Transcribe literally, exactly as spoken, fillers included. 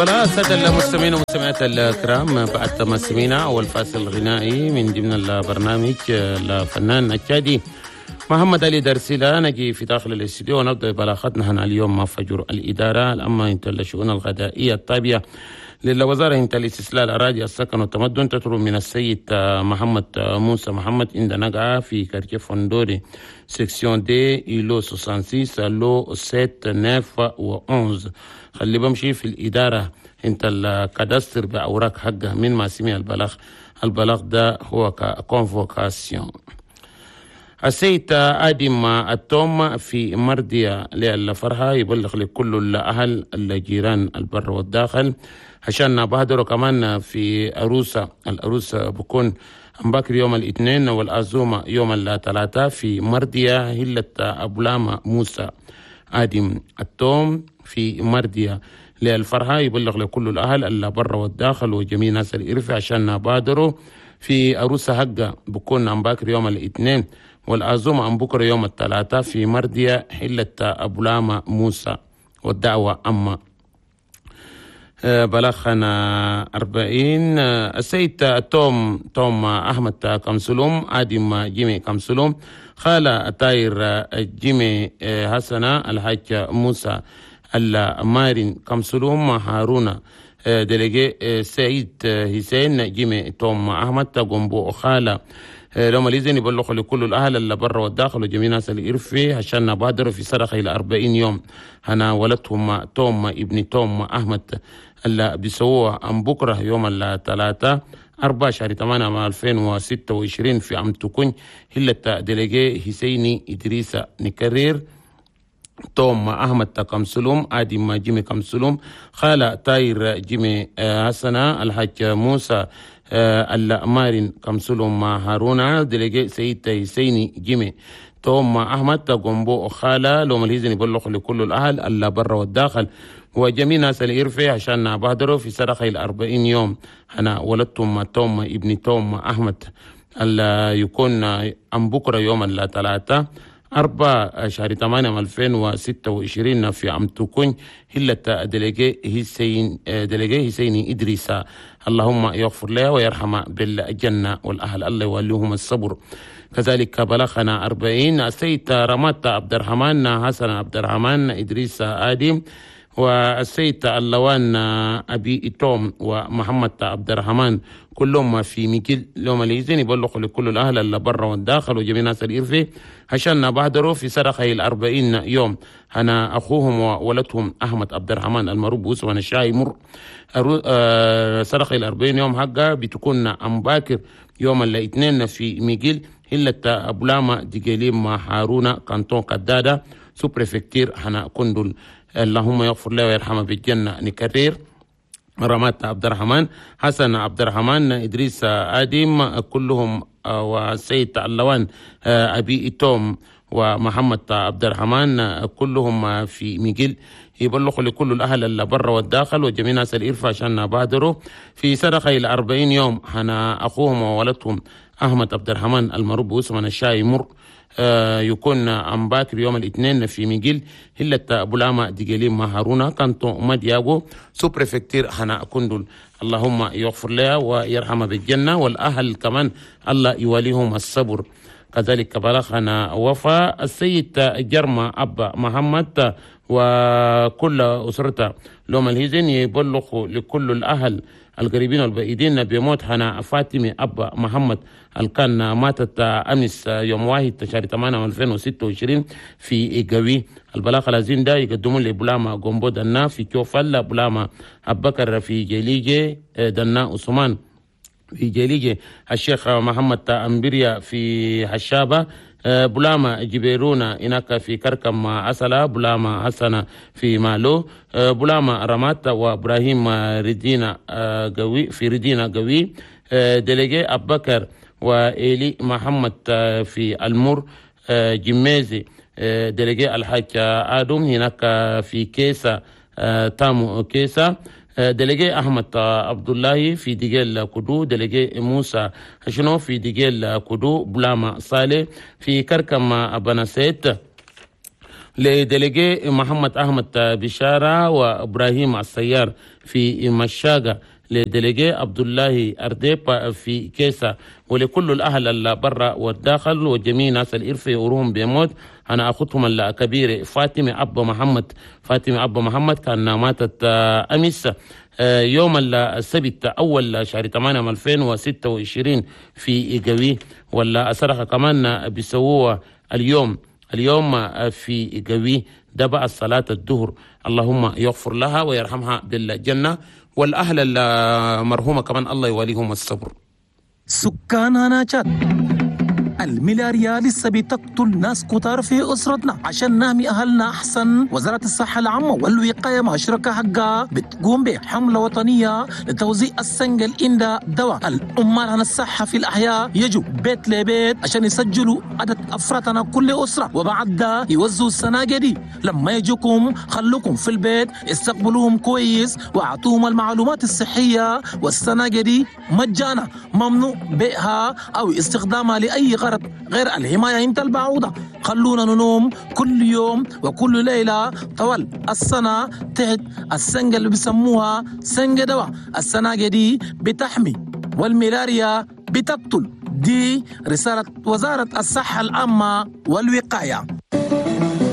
السادة المستمعين والمستمعات الكرام، بعد ما سمعنا أول فاصل غنائي من ضمن البرنامج الفنان التشادي محمد علي درسيلا، نجي في داخل الاستديو ونبدأ بلاغتنا هنا اليوم مع فجر الإدارة العامة انت الشؤون الغذائية التابعة للوزارة انت الاستصلاح الأراضي السكن والتمدن، تطلب من السيد محمد موسى محمد عند نقعة في quartier فندوري section D îlot ستة وستين lot سبعة تسعة و عشرة، خلي بمشي في الإدارة انت ال cadastre بأوراق حقه من ما سمع البلاغ. البلاغ ده هو convocation. السيد آدم التوم في مردية للفرحة يبلغ لكل الأهل الجيران البر والداخل عشان بهدروا كمان في أروسة. الأروسة بكون بكر يوم الاثنين والأزومة يوم الثلاثاء في مردية هلة أبو موسى. آدم التوم في مردية للفرحة يبلغ لكل الأهل اللي برا والداخل وجميع ناس الإرفع عشان بادروا في أروسة حقة بكون عم باكر يوم الاثنين والعزومة عن بكرة يوم الثلاثاء في مردية حلة أبو لاما موسى، والدعوة أما. بلغنا أربعين. السيد توم توم أحمد كمسلوم، آدم جيمي كمسلوم، خالة تاير جيمي حسنة، الحاج موسى المارين كمسلوم هارون، délégué سعيد حسين جيمي توم أحمد قنبو خالة، لو ماليزين يبلغوا لكل الأهل اللي برا والداخل وجميع ناس الإرفي عشان بادروا في صدقة إلى أربعين يوم هنا ولدهم توم ابن توم أحمد اللي بيسووها أم بكرة يوم الثلاثاء أربعة شهر ثمانية ألفين وستة وعشرين في أم تكون هلة délégué حسيني إدريس. نكرر: توم أحمد كمسلوم، آدم جيمي كمسلوم، خالة تاير جيمي حسنة، الحاج موسى المارين كمسلوم هارونا، délégué سيد حسيني جيمي توم أحمد قنبو خالة، لو مليزن يبلغ لكل الأهل اللي برا والداخل وجميع ناس الإرفي عشان بهدروا في صدقة الأربعين يوم أنا ولدتم توم ابن توم أحمد اللي يكون أم بكرة يوم الثلاثاء أربعة شهر ثمانية ألفين وستة وعشرين في عم تكون هلة délégué حسين délégué حسيني إدريس. اللهم يغفر له ويرحمه بالجنة، والأهل الله يوليهم الصبر. كذلك بلغنا أربعين. السيد رمات عبد الرحمن، حسن عبد الرحمن، إدريس آدم، والسيد اللوان أبي توم، ومحمد عبد الرحمن، كلهم في ميكيل. لهم الإذن يبلغوا لكل الأهل اللي برا والداخل وجميع ناس الإرفي عشان بهدروا في صدقة الأربعين يوم أنا أخوهم وولدهم أحمد عبد الرحمن المعروف باسم الشاي مر. صدقة الأربعين يوم حقها بتكون أم باكر يوم الاثنين في ميجيل هلة أبولاما ديجيليم هارونا canton كدادة sous-préfecture هنا كندل. اللهم يغفر له ويرحمه بالجنة. نكرر: رمات عبد الرحمن، حسن عبد الرحمن، إدريس آدم، كلهم، والسيد اللوان أبي توم ومحمد عبد الرحمن، كلهم في ميجيل، يبلغوا لكل الأهل اللي برا والداخل وجميع ناس الإرفع عشان بادروا في صدقة إلى أربعين يوم هنا أخوهم وولدهم أحمد عبد الرحمن المعروف باسم الشاي مر، آه يكون أم باكر يوم الاثنين في ميجيل هلة بولاما ديجيليم هارونا canton مدياغو sous-préfecture هنا كندل. اللهم يغفر لها ويرحمها بالجنة، والأهل كمان الله يوليهم الصبر. كذلك بلغنا وفاة السيد جرمى أبا محمد وكل أسرته. لهم الهزن يبلغ لكل الأهل القريبين والبعيدين بموت هنا فاطمة أبا محمد اللي كان ماتت أمس يوم واحد شهر ثمانية ألفين وستة وعشرين في قوي. البلاغ العزيم ده يقدمون لبلاما جومبو دنا في كوفل، بلاما أبكر في جليجي، دنا عثمان في جليجي، الشيخ محمد أمبريا في حشابة، بلاما جبيرونا هناك في كركم عسلة، بلاما حسنة في مالو، بلاما رمات وابراهيم ردينا قوي في ردينا قوي، délégué أبكر وإيلي محمد في المر جميزي، délégué الحاج آدم هناك في كيسا تامو كيسا، délégué أحمد عبد الله في ديجيل كدو، délégué موسى شنو في ديجيل كدو، بلاما صالح في كركم بناسيت. ل délégué محمد أحمد بشارة وإبراهيم السيار في مشاقة، ل délégué عبد الله أرديب في كيسة، ولكل الأهل اللي برا والداخل وجميع ناس الإرفي وروهم بيموت. أنا أختهم الكبيرة فاطمة أبا محمد، فاطمة أبا محمد كان ماتت أمس يوم السبت أول شهر ثمانية ألفين وستة وعشرين في قوي، ولا صدقة كمان بيسووها اليوم اليوم في قوي ده بعد صلاة الظهر. اللهم يغفر لها ويرحمها بالجنة، والأهل المرحومة كمان الله يوليهم الصبر. سكان هنا تشاد، الملاريا لسه بتقتل ناس كتار في أسرتنا. عشان نحمي أهلنا أحسن، وزارة الصحة العامة والوقاية مع شركاء حقها بتقوم بحملة وطنية لتوزيع السنجة العندها دواء. العمال هنا الصحة في الأحياء يجوا بيت لبيت عشان يسجلوا عدد أفراد هنا كل أسرة، وبعد ده يوزعوا السناجة دي. لما يجوكم خلوكم في البيت، استقبلوهم كويس واعطوهم المعلومات الصحية. والسناجة دي مجانا، ممنوع بيعها أو استخدامها لأي غرض غير الحماية من البعوضة. خلونا ننوم كل يوم وكل ليلة طوال السنة تحت السنجة اللي بيسموها سنجة دواء. السناجة دي بتحمي والملاريا بتقتل. دي رسالة وزارة الصحة العامة والوقاية.